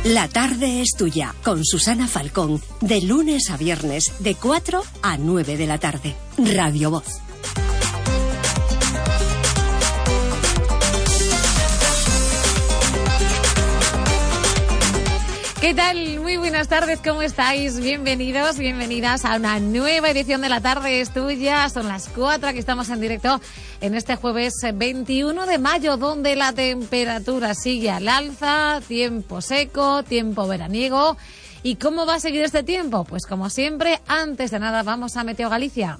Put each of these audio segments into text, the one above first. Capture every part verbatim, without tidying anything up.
La tarde es tuya, con Susana Falcón, de lunes a viernes, de cuatro a nueve de la tarde. Radio Voz. ¿Qué tal? Muy buenas tardes, ¿cómo estáis? Bienvenidos, bienvenidas a una nueva edición de La Tarde es Tuya. Son las cuatro, aquí estamos en directo en este jueves veintiuno de mayo, donde la temperatura sigue al alza, tiempo seco, tiempo veraniego. ¿Y cómo va a seguir este tiempo? Pues como siempre, antes de nada vamos a Meteo Galicia.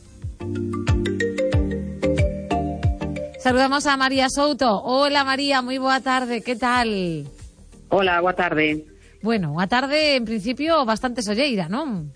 Saludamos a María Souto. Hola María, muy boa tarde, ¿qué tal? Hola, boa tarde. Bueno, a tarde, en principio, bastante solleira, non?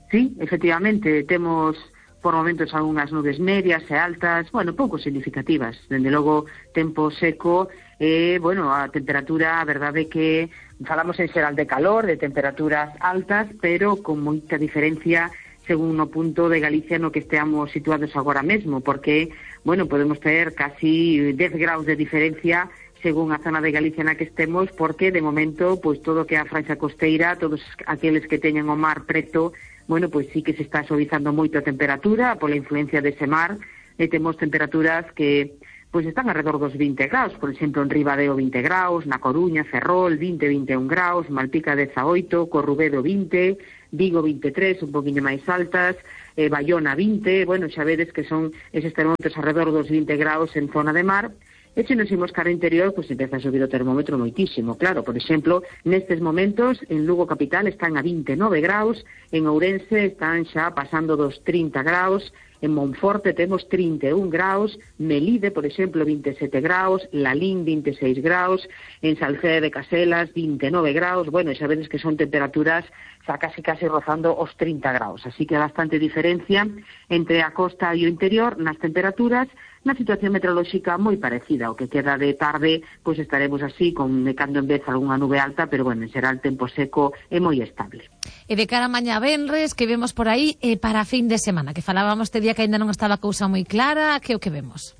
Sí, efectivamente, temos por momentos algunhas nubes medias e altas, bueno, pouco significativas. Dende logo, tempo seco e, bueno, a temperatura, a verdade que falamos en xeral de calor, de temperaturas altas, pero con moita diferencia según o punto de Galicia no que esteamos situados agora mesmo, porque, bueno, podemos ter casi dez graus de diferencia según a zona de Galicia na que estemos, porque de momento, pois todo que a franxa costeira, todos aqueles que teñen o mar preto, bueno, pois sí que se está suavizando moito a temperatura pola influencia dese mar, e temos temperaturas que pois están alrededor dos vinte graus, por exemplo, en Ribadeo vinte graus, na Coruña, Ferrol vinte, vinte e un graus, Malpica dezaoito, Corrubedo vinte, Vigo vinte e tres, un poquinho máis altas, eh, Bayona vinte, bueno, xa vedes que son eses termómetros alrededor dos vinte graus en zona de mar. E se nos imos cara interior, pois empeza a subir o termómetro moitísimo, claro. Por exemplo, nestes momentos, en Lugo capital están a vinte e nove graus, en Ourense están xa pasando dos trinta graus, en Monforte temos trinta e un graus, Melide, por exemplo, vinte e sete graus, Lalín, vinte e seis graus, en Salceda de Caselas, vinte e nove graus, bueno, xa vedes que son temperaturas xa casi casi rozando os trinta graus, así que bastante diferencia entre a costa e o interior nas temperaturas. Na situación meteorolóxica moi parecida, o que queda de tarde, pois estaremos así, con de cando en vez algunha nube alta, pero bueno, será el tempo seco e moi estable. E de cara a mañá venres, que vemos por aí, e para fin de semana, que falábamos este día que ainda non estaba a cousa moi clara, que o que vemos?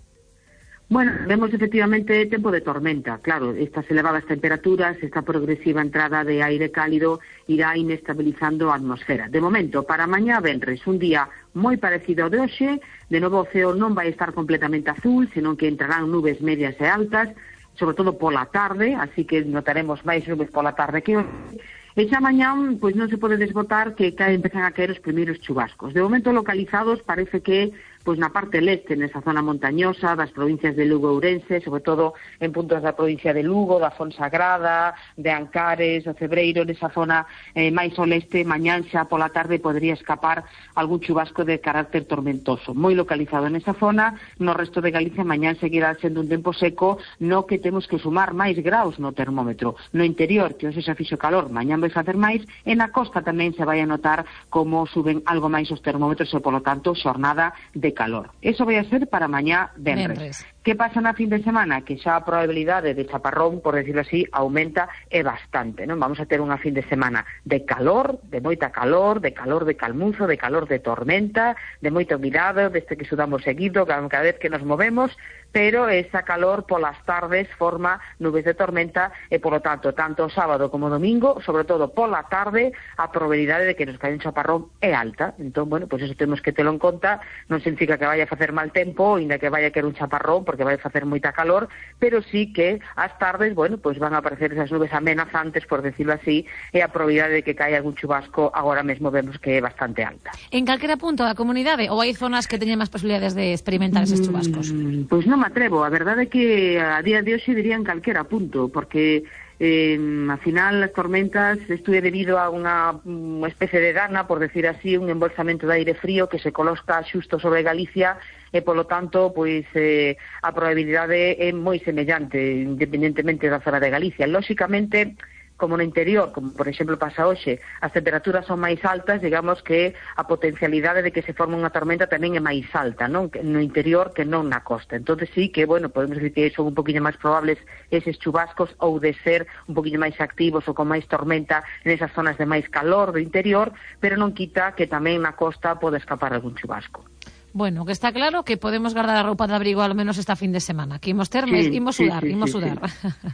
Bueno, vemos efectivamente tempo de tormenta, claro, estas elevadas temperaturas, esta progresiva entrada de aire cálido irá inestabilizando a atmosfera. De momento, para mañá venres, un día moi parecido ao de hoxe, de novo o ceo non vai estar completamente azul, senón que entrarán nubes medias e altas, sobre todo pola tarde, así que notaremos máis nubes pola tarde que hoxe. E xa mañán, pois non se pode desbotar que cae, empezan a caer os primeiros chubascos. De momento localizados, parece que pois na parte leste, nesa zona montañosa das provincias de Lugo e Ourense, sobre todo en puntos da provincia de Lugo, da Fonsagrada, de Ancares, do Cebreiro, nesa zona eh, máis ao leste, mañán xa pola tarde podría escapar algún chubasco de carácter tormentoso. Moi localizado nesa zona, no resto de Galicia mañán seguirá sendo un tempo seco, no que temos que sumar máis graus no termómetro. No interior, que hoxe xa fixo calor, mañán vai facer máis, e na costa tamén se vai a notar como suben algo máis os termómetros e, polo tanto, xornada de calor. Eso vai a ser para mañá venres. Que pasa na fin de semana? Que xa a probabilidade de chaparrón, por decirlo así, aumenta e bastante, non? Vamos a ter unha fin de semana de calor, de moita calor, de calor de calmuzo, de calor de tormenta, de moita humidade, deste que sudamos seguido cada vez que nos movemos, pero esa calor polas tardes forma nubes de tormenta e, polo tanto, tanto o sábado como o domingo, sobre todo pola tarde, a probabilidade de que nos caia un chaparrón é alta. Entón, bueno, pois eso temos que telo en conta, non significa que vaya a facer mal tempo, ainda que vaya a querer un chaparrón, porque vai a facer moita calor, pero sí que as tardes, bueno, pois van a aparecer esas nubes amenazantes, por decirlo así, e a probabilidade de que caia algún chubasco agora mesmo vemos que é bastante alta. En calquera punto da comunidade, ou hai zonas que teñen máis posibilidades de experimentar eses chubascos? Mm, pois non me atrevo, a verdade é que a día de hoxe diría en calquera punto, porque Eh, al final as tormentas, isto é debido a unha, unha especie de dana, por decir así, un embolsamento de aire frío que se coloca xusto sobre Galicia e, polo tanto, pois eh, a probabilidade é moi semellante, independentemente da zona de Galicia. Lóxicamente, como no interior, como por exemplo pasa hoxe, as temperaturas son máis altas, digamos que a potencialidade de que se forme unha tormenta tamén é máis alta, non? No interior que non na costa. Entón sí que, bueno, podemos decir que son un poquinho máis probables eses chubascos ou de ser un poquinho máis activos ou con máis tormenta nesas zonas de máis calor do interior, pero non quita que tamén na costa pode escapar algún chubasco. Bueno, que está claro que podemos guardar a roupa de abrigo ao menos esta fin de semana, que imos ter, sí, imos sudar, sí, sí, imos sudar. Sí, sí.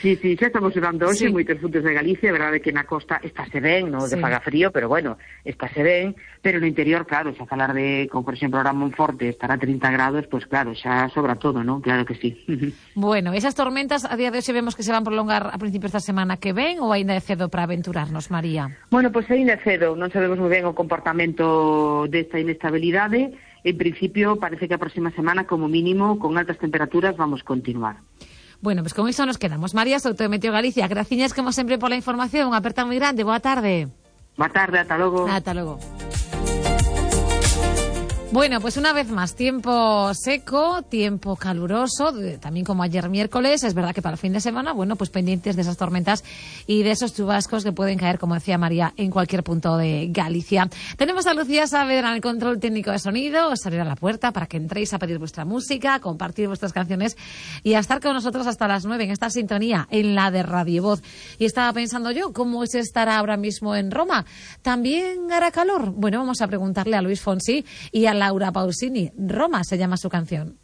Sí, sí, xa estamos dando hoxe sí. moitos puntos de Galicia, a verdade que na costa estáse ben, non Sí. de faga frío, pero bueno, estáse ben, pero no interior, claro, xa falar de, como por exemplo, ahora Monforte estará a trinta grados, pois pues, claro, xa sobra todo, non? Claro que sí. Bueno, esas tormentas a día de hoxe vemos que se van prolongar a principios da semana que ven ou aínda é cedo para aventurarnos, María? Bueno, pois pues, aínda é cedo, non sabemos moi ben o comportamento desta inestabilidade. En principio, parece que a próxima semana, como mínimo, con altas temperaturas, vamos continuar. Bueno, pues con iso nos quedamos. María Souto de Meteo Galicia, graciñas como sempre pola información, unha aperta moi grande, boa tarde. Boa tarde, ata logo. Ata logo. Bueno, pues una vez más, tiempo seco, tiempo caluroso, también como ayer miércoles. Es verdad que para el fin de semana, bueno, pues pendientes de esas tormentas y de esos chubascos que pueden caer, como decía María, en cualquier punto de Galicia. Tenemos a Lucía Saavedra en el control técnico de sonido. Os abrirá la puerta para que entréis a pedir vuestra música, a compartir vuestras canciones y a estar con nosotros hasta las nueve en esta sintonía, en la de Radio Voz. Y estaba pensando yo, ¿cómo se estará ahora mismo en Roma? ¿También hará calor? Bueno, vamos a preguntarle a Luis Fonsi y a Laura Pausini. Roma se llama su canción.